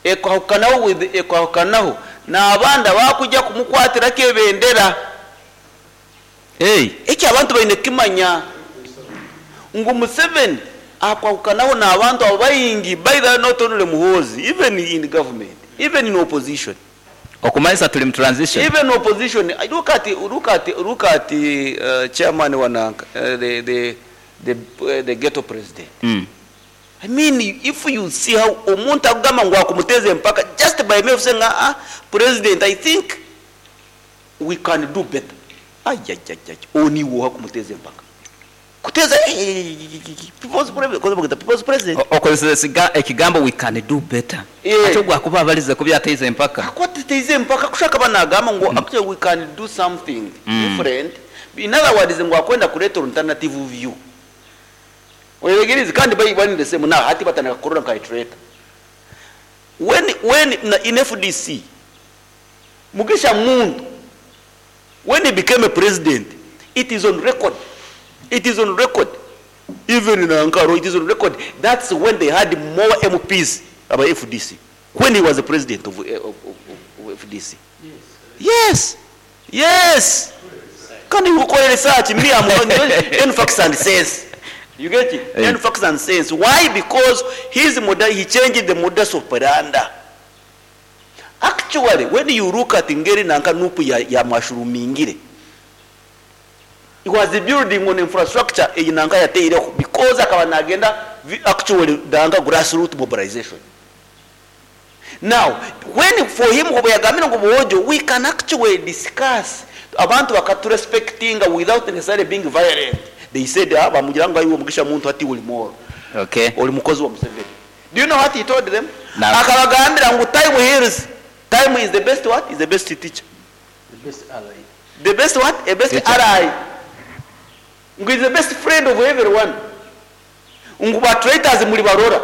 ekwahukanaho with ekwahukanaho n'abandi abakujya kumukwatirako ebendera. Hey. Eki abantu baine kukimanya ngu Museveni akwahukanaho n'abantu abo baingi, by the way not only Muhoozi, even in government, even in opposition. Okumanyisa turi mu transition. Even opposition, look at, look at, look at chairman wa nanka, the ghetto president. I mean, if you see how omuntu akugamba ngu akumuteza empaka just by me saying, president, I think we can do better. Ay, ay, ay, ay. Oni wo akumuteza empaka. Kuteza, people's president, people's president. Okozesa ekigambo we can do better. Ate ogwo akuba abarize kubyateize empaka. Akubateize empaka kushaka banagamba ngu actually we can do something different. In other words, ngu akwenda kuleta alternative view. Oyegereze kandi bayi bani the same now hati batana kurora nka traitor. When na in FDC Mugisha Muntu when he became a president, it is on record. It is on record. Even in Ankara, it is on record. That's when they had more MPs about FDC. When he was the president of FDC. Yes. Yes. Can you call research? Me, I'm on facts and sense. You get it? Yeah. Facts and sense. Why? Because his model, he changed the modus operandi. Actually, when you look at Ngeri Nanka Nupu ya mushroomingire, it was building on infrastructure in Nanka ya Teire because akaba nagenda actually danga grassroots mobilization. Now, when for him we can actually discuss abantu bakatu respecting without necessarily being violent. They said, bamugira ngo ayiwe Mugisha Muntu ati uri moro. Okay. Uri mukozi wa Museveni. Do you know what he told them? No. Akabagambira ngo time heals. Time is the best what? Is the best teacher. The best ally. The best what? The best Teacher. ally. Ngo is the best friend of everyone. Ngo ba traitors muri barora.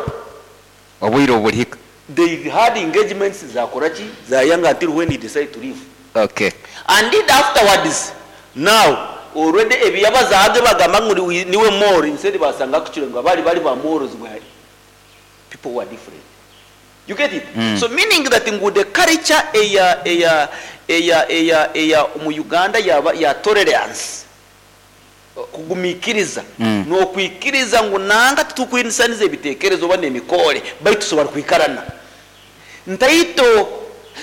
Obwire oburihika. They had engagements za Korachi, za Yanga until when he decided to leave. Okay. And did afterwards, now, already ebiyabazage bagamba ngo niwe more, instead basanga kuchire ngo bari bari ba mores were people were different. You get it? So meaning that ngo the culture eya eya eya eya eya mu Uganda ya tolerance kugumikiriza no kwikiriza ngo nanga tutukwinisanize ebitekerezo bane emikore baitu tusobora kwikarana ntaito.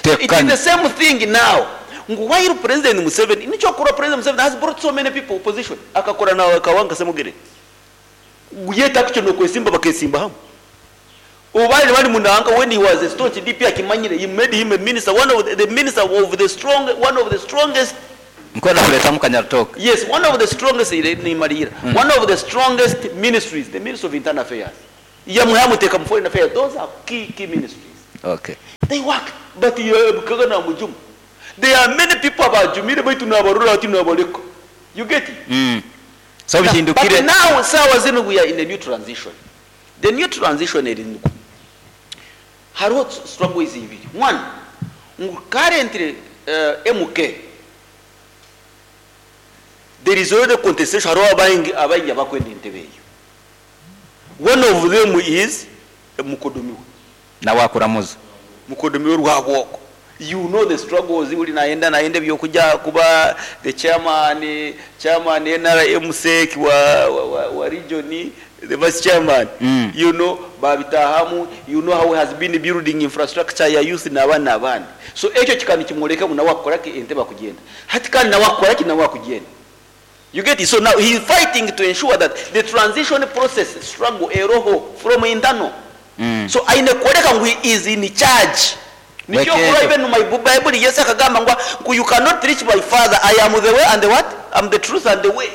It is the same thing now. Ngu while President Museveni, nicho kura President Museveni has brought so many people opposition. Akakora na Kawanga Semugere. Yet actually no kwesimba bakesimba hamu. Obali bali munanga when he was a staunch DP akimanyire, he made him a minister, one of the minister of the strong, one of the strongest. Nkwenda kuleta mukanyaritoke. Yes, one of the strongest ni Marira. One of the strongest ministries, the Ministry of Internal Affairs. Yamuhamuteka mu Foreign Affairs, those are key ministries. Okay. They work, but Kagana Mujum. There are many people abajumire baitu nabarora hati nabareka. You get it? Mm. So Now, but bihindukire. now saawa zinu we are in a new transition. The new transition eri ngu hariho struggles ibiri. One, ngu currently MK there is already contestation hariho abaingi abaingi abakwenda entebe eyo. One of them is mukodomi we. Nawe akuramuza. Mukodomi we Rwabwogo. You know the struggles buri nayenda nayenda eby'okuja kuba the chairman, chairman NRM sec wa, wa, wa, wa region, the vice chairman. Mm. You know, babitahamu, you know how he has been building infrastructure ya youth n'abandi n'abandi. So ekyo kikaba nikimworeka ngu nawe akukora ki entebe akugyenda. Hati kandi nawe akukora ki nawe akugyenda. You get it? So now he is fighting to ensure that the transition process struggle eroho from internal. Mm. So aine kworeka ngu he is in charge. Nikyo Wekeejo. okura even my Bible Yesu akagamba ngu, ngu you cannot reach my father. I am the way and the what? I'm the truth and the way.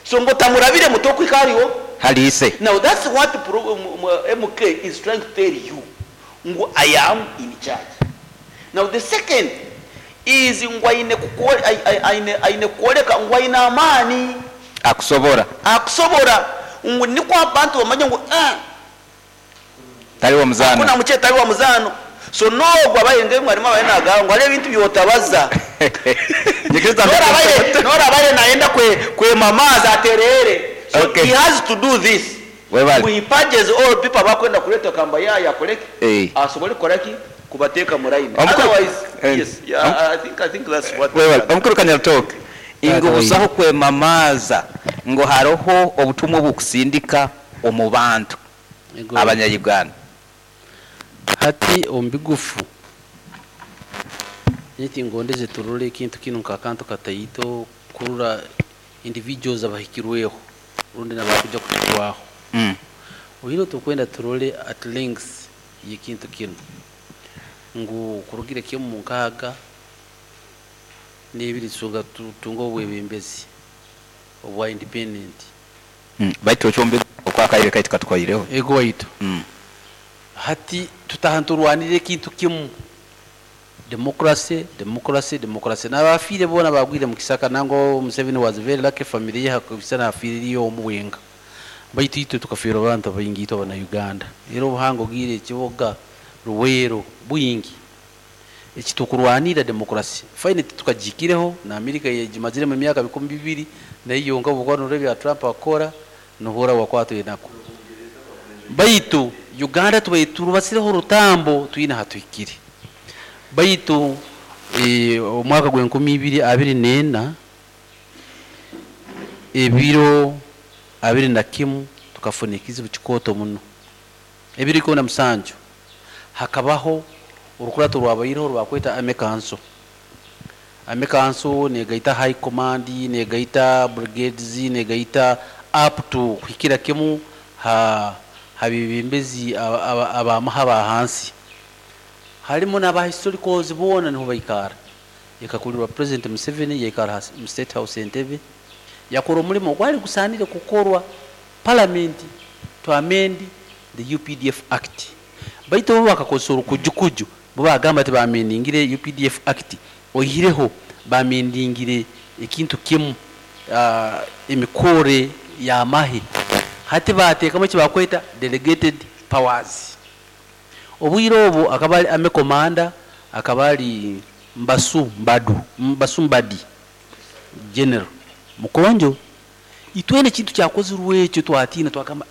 So ngu otamurabire mutokwika hariho. Hali ise. Now that's what MK is trying to tell you. Ngu I am in charge. Now the second is ngu aine kukore, aine, aine kworeka ngu aine amaani. Akusobora. Akusobora. Ngu nikwo abantu bamanye ngu, ah, Tari wa muzaano. Hakuna mukye tari wa muzaano. So n'ogwo abaire nge mwarimu abaire nagamba ngu hariho ebintu byotabaza. Nyikiriza N'orabaire, n'orabaire nayenda kwe, kwemamaaza atereere. So Okay. he has to do this. Webale. He purges all people abakwenda kureeta kamba yaayo akoreki. Eh. Asobole kukoraki kubateeka mu line. Omukuru- Otherwise, Eh. yes, yeah, I think that's what Webale. Omukuru Kanyarutooke. Ingu Taata busaho kwemamaaza ngu hariho obutumwa obukusindika omu bantu Ego. abanya-Uganda. Hati omu bigufu niti ngondeze turore ekintu kinu nk'akantu kataito kurora individuals abahikirweho rundi nabakuja kuhikwaho. Mm. Oine tukwenda turore at length y'ekintu kinu ngu kurugire kimu mu nkaaga n'ebiri tusonga tutunga obwebembezi obwa independent. Mm. Baitu okyombe okwakaire kaitu katwaireho. Ego waitu. Mm. Hati tutaha nturwanire ekintu kimu. Democracy, democracy, democracy. N'abafiire boona bagwire mu kisaka nango Museveni was very lucky family ye hakubisa nafiiriyo omu bwenga. Baitu itwe tukafiirwa abantu baingi itwe abana Uganda. Era obuhango bwire ekiboga Luweero bwingi. Ekitukurwanira democracy. Fine tukagikireho na America yegimazire mu myaka bikumi bibiri nayo yonka obukwano bya Trump akora nohora wakwatwe nako. Baitu Uganda tubaye turubasireho orutambo twine hatuhikire. Baitu omwaka gw'enkumi ibiri abiri n'ena ebiro abiri na kimu tukafuna ekizibu kikooto muno. Ebiro ikumi na musanju hakabaho orukurato rwabaireho rwakweta Army Council. Army Council negaita High Command, negaita brigades, negaita up to kuhikira kimu ha habibembezi abamaha ba hansi. Harimu n'aba historicals boona niho baikara. Yakakulirwa President Museveni yaikara mu State House Entebbe. Yakora omurimo gwari gusanire kukorwa Parliament to amend the UPDF Act. Baitu bo bakakozesa orukujukuju bo bagamba ati bamendingire UPDF Act oihireho bamendingire ekintu kimu, emikore y'amahe. Hati bateekamu eki bakweta delegated powers. Obwire obu akaba ari Army Commander, akaba ari Mbasu Mbadu, Mbasu Mbadi General Mukonjo. Itwene ekintu kyakozirwe ekyo twatiina twagamba,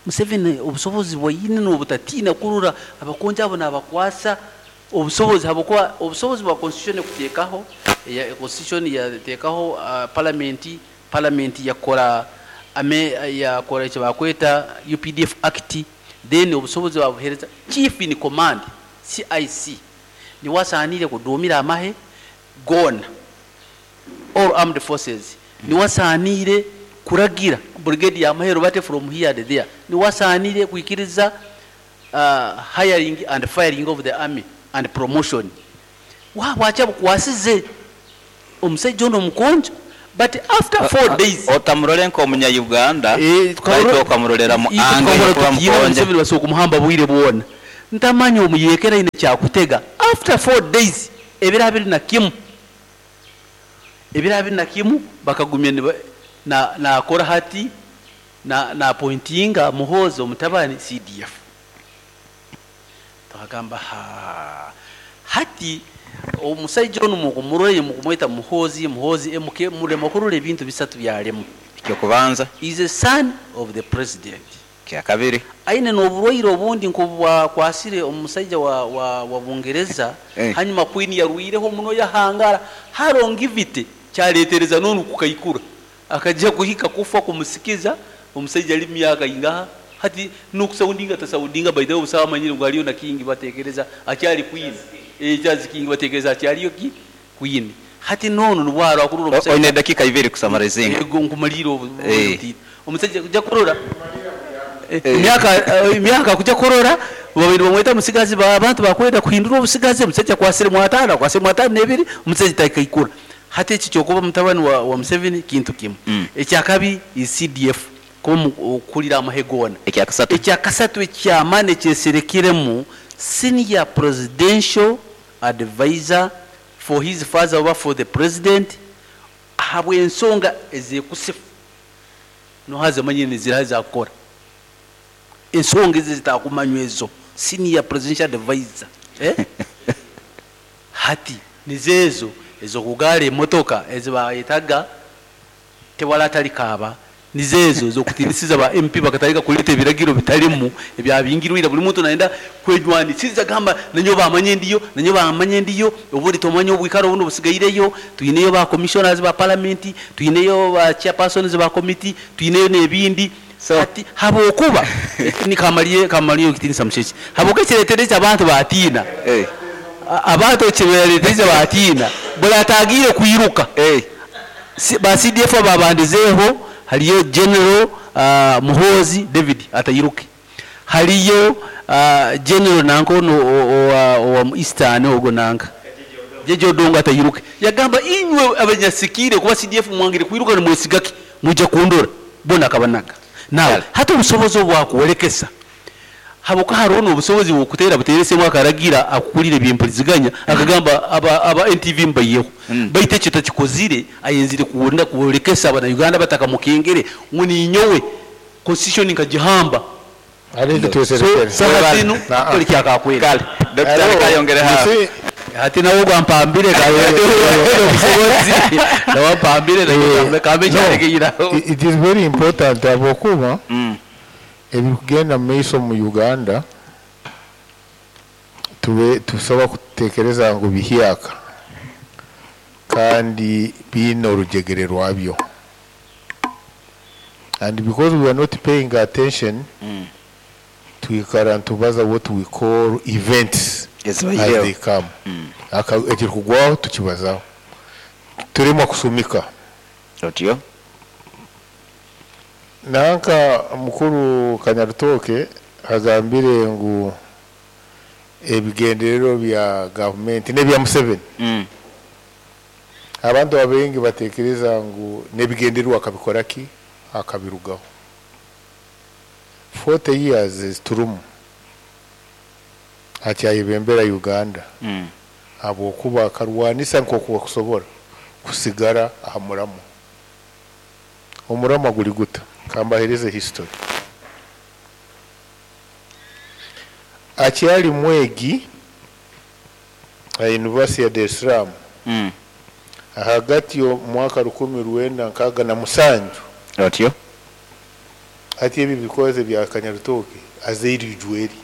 Museveni obusobozi bwaine n'obutatiina kurura abakonjo abo nabakwasa obusobozi habwokuba obusobozi bwa constitution kuteekaho, ya constitution yateekaho, parliament, parliament yakora ame yakora eki bakweta UPDF Act, then obusobozi babuhereza Chief in Command CIC niwe asaanire kuduumira amahe goona all armed forces, niwe asaanire kuragira brigade ya amahe rubate from here and there, niwe asaanire kwikiriza, hiring and firing of the army and promotion. Wabwacha bukwasize omusajja ono omukonjo, but after 4 days otamurore nk'omunya Uganda, baitu okamurorera mu ange yokuba mukonjo. Museveni basobola kumuhamba bwire bwona. Ntamanya omuyekera aine kyakutega. After 4 days Ebiro 21, ebiro 21 bakagumya niba na nakora hati na na appointinga Muhoozi omutabani CDF. Twagamba haa hati omusaija onu mukumurora mukumweta Muhoozi, Muhoozi MK murema kurora ebintu bisatu byaremu. Ekyokubanza. Is a son of the president. Kyakabiri. Aine n'oburwaire obundi nk'obwakwasire omusaija wa wa wa Bungereza hanyuma Queen yarwireho muno yahangara ha longevity kyaletereza n'onu kukaikura akagya kuhika kufa kumusikiza omusaija ali mumyaka ingaha hati n'okusaundinga tasaundinga by the way obusaho amanyire ngu hariyo na king batekereza akyali Queen eh Charles king batekereza akyaliyo ki Queen hati n'onu nubwo aroho akurora Oine omusaija edakiika ibiri kusamarizinga. Ego nkumaliire obu butiini. Omusaija kuja kurora emyaka emyaka kuja kurora babaire nibamweta musigazi abantu bakwenda kuhindura obusigazi omusaija akwasire mwatano akwasire mwatano nebiri omusaija takaikura. Hati eki kyokuba mutabani wa wa Museveni kintu kimwe. Ekyakabi is CDF kuba okurira amahe goona. Ekyakasatu. Ekyakasatu ekyamani ekyeserekiremu senior presidential advisor for his father oba for the president ahabwensonga ezekusifu noha zimanyire niziraha ezakukora ensonga ezi ezitakumanywa ezo senior presidential advisor eh hati nizo ezo ezokugaara emotoka ezibayetaga Tewali atalikaaba. Nizo ezo ez'okutinisiza ba MP bakatandika kuleeta ebiragiro bitarimu ebyabingirwe ira buri muntu nayenda kwejwanisiza gamba nanyowe bamanye ndiyo, nanyowe bamanye ndiyo, obundi tomanya obwikaro obundi obusigaireyo, twineyo ba commissioners ba parliament, twineyo ba chairpersons ba committee, twineyo n'ebindi. So Hati habwokuba ni kamariye kamariye ekitinisa mushekye. Habwokuba ekireeterize abantu batiina. Abantu ekibareeterize batiina buri ataagiire kwiruka. Ba CDF ababandizeeho hariyo General Muhoozi David atairuke, hariyo General nanka onu owa Eastern ogwo nanka Jeje Odongo atairuke. Yagamba inywe abanyasikiire kuba CDF mwangire kwiruka nimwesiga ki? Mwija kundora. Bona akabanaga. Now hati obusobozi obu bwakworekesa Habwokuba haroho n'obusobozi bw'okuteera buteeresemu akaragira akukurira eby'empuriziganya akagamba aba aba NTV mubaiheho. Baitu ekyo takikozire ayenzire kwenda kworekesa abana-Uganda abatakhamukengere ngu ninyowe constitution nkagihamba. Hariho So ekitweserekere. saaha zinu Naa. kukora ekyakakwenda. Kale, Dokita Hariho, leka ayongereho you aho. see, Hati nawe ogu ampambire obusobozi nawe ampambire kambe no, ekyarekeire aho. it is very important habwokuba Ebirikugenda omu maiso omu Uganda tube tusobola kutekereza ngu bihyaka kandi biine orujegere rwabyo and because we are not paying attention twikara nitubaza what we call events as Ezibaireho. they come. Aka ekirikugwaho tukibazaho turemwa kusumika. Otyo. Nanka mukuru Kanyarutooke agambire ngu ebigendererwa bya gavumenti n'ebya Museveni. Abantu abaingi batekereza ngu n'ebigendererwa akabikora ki akabirugaho. 40 years eziturimu akyayebembera Uganda habwokuba akarwanisa nk'oku akusobora kusigara aha muramwa. Omuramwa guri guta? Kambahereze history. Akyari mwegi aha University ya Dar es Salaam ahagati y'omwaka 1967. Otyo. Hati ebi ebikoze bya Kanyarutooke azaire ijweri.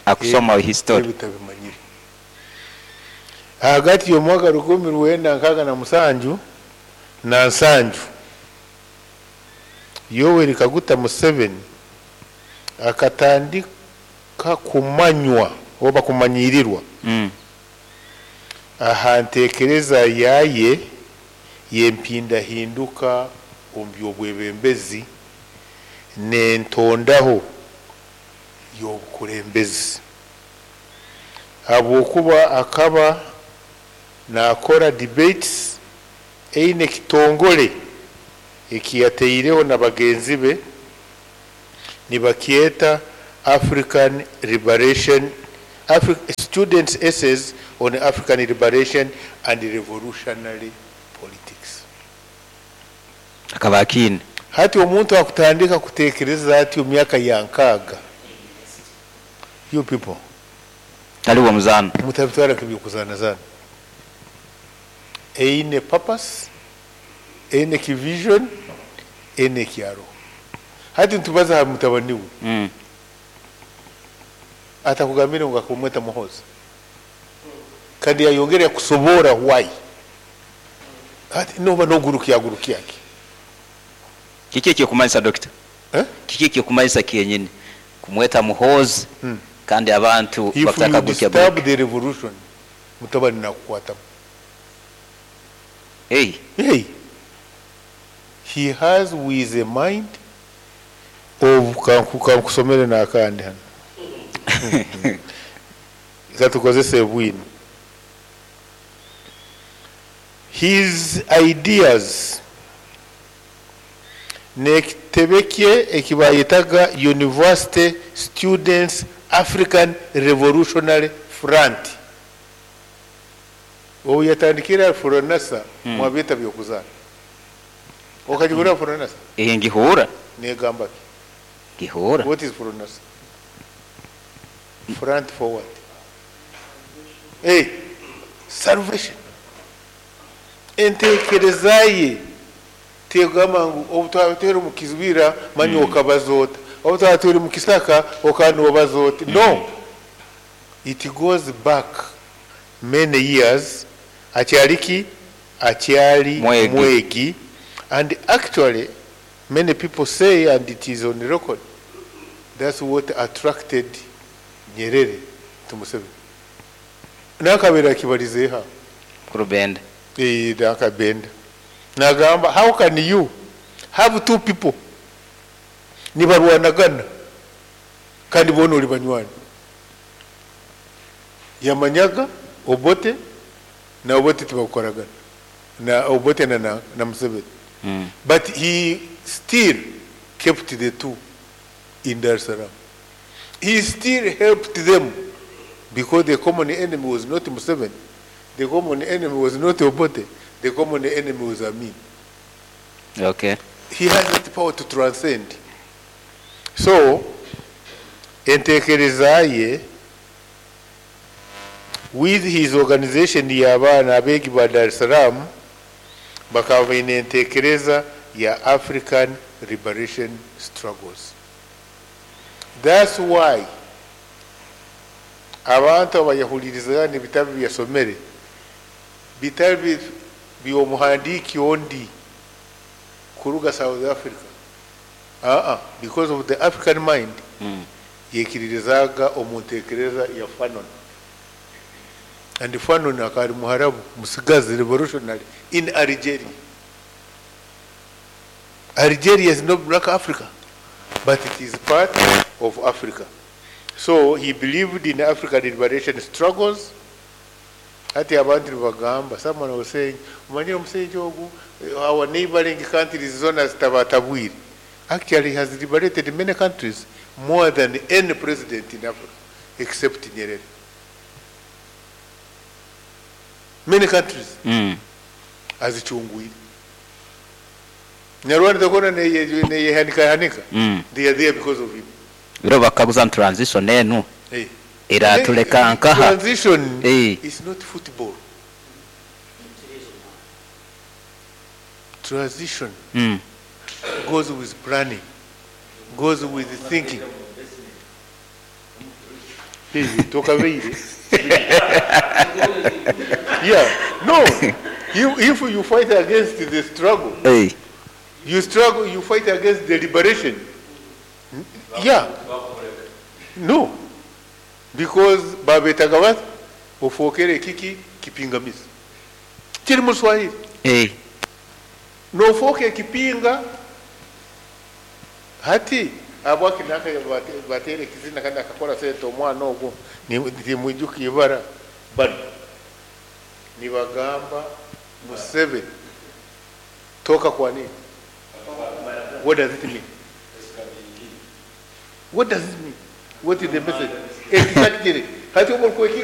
Akusoma history. Ebi tabimanyire. Ahagati y'omwaka 1967 na nsanju, Yoweri Kaguta Museveni akatandika kumanywa oba kumanyirirwa aha ntekereza yaye y'empindahinduka omu by'obwebembezi n'entondaho y'obukulembezi habwokuba akaba nakora debates eine ekitongore ekiyateireho na bagenzi be nibakyeta African Liberation Afri Students Essays on African Liberation and Revolutionary Politics. Akaba akiine. Hati omuntu akutandika kutekereza ati omu myaka ya nkaaga, you people. Tali w'omuzaano. Mutabitwara nk'eby'okuzaanazaana. Eine purpose, eine ki vision, eine eki aroho. Hati nitubaza aha mutabani we. Atakugambire ngu akamweta Muhoozi. Kandi yayongera yakusoboora why. Hati noba nogurukyagurukya ki? Kiki ekirikumanyisa Dokita? Eh? Kiki ekirikumanyisa kyenyini kumweta Muhoozi kandi abantu If you bakutakagurukyagurukya? disturb the revolution, mutabani nakukwatamu. Hey. Hey. He has with a mind of kankusomere n'akandi hano. Katukozese bwino. His ideas n'ekitebe kye ekibayetaga University Students African Revolutionary Front. Obu yatandikira Furonasa, mwabyeta by'okuzaana. Okagihurira Furonasa? Eh, ngihurra. Negamba ki? Ngihurra. What is Furonasa? Front for what? Hey, salvation. Entekereza ye tegamba ngu obu twaba turi omu kibira manya okabaza ota, obu twaba turi mu kisaka okanobaza ota. No, it goes back many years. Akyali ki? Akyali Mwegi. Mwegi. And actually many people say, and it is on record, that's what attracted Nyerere to Museveni. Nakabera akibalizeeho. Kurubenda. Eh, nakabenda. Nagamba, how can you have two people nibarwanagana kandi boona oli banywani? Yamanyaga Obote na Obote tibakukoragana na Obote na Museveni. But he still kept the two in Dar es Salaam. He still helped them because the common enemy was not Museveni. The common enemy was not Obote. The common enemy was Amin. Okay. He has the power to transcend. So, entekereza ye with his organization y'abaana abeegi ba Dar es Salaam bakaba baine entekereza ya African liberation struggles. That's why abantu abayahulirizaga n'ebitabo byasomere bitari by'omuhandiiki ondi kuruga South Africa. Because of the African mind, yekiririzaga omu ntekereza ya Fanon. And Fanon akaba ari Muharabu, musigazi revolutionary in Algeria. Algeria is not Black Africa, but it is part of Africa. So he believed in African liberation struggles. Hati abantu nibagamba, someone was saying, umanyire omushaija ogu, our neighboring countries zona zitabatabwire. Actually, he has liberated many countries more than any president in Africa, except Nyerere. Many countries azichungwire. Nyarwanda tokona neyehanika hanika. They are there because of him. Biro bakaguza transition enu. Hey. Eratuleka nkaha. Transition Hey. is not football. Transition goes with planning, goes with thinking. Hey, tokabeire. Yeah, no. If you fight against the struggle, Hey. you struggle, you fight against the liberation. Yeah. No. Because babetaga bati ofookere kiki kipingamizi. Kiri mu Swahili. Hey. Nofooka ekipinga hati abwaki naka bateera ekizina kandi akakora sente omwana ogwo timwijuka ibara bano nibagamba Museveni toka kwa nini? What does it mean? What does it mean? What is the message? Exactly. Hati obu orikwekiika.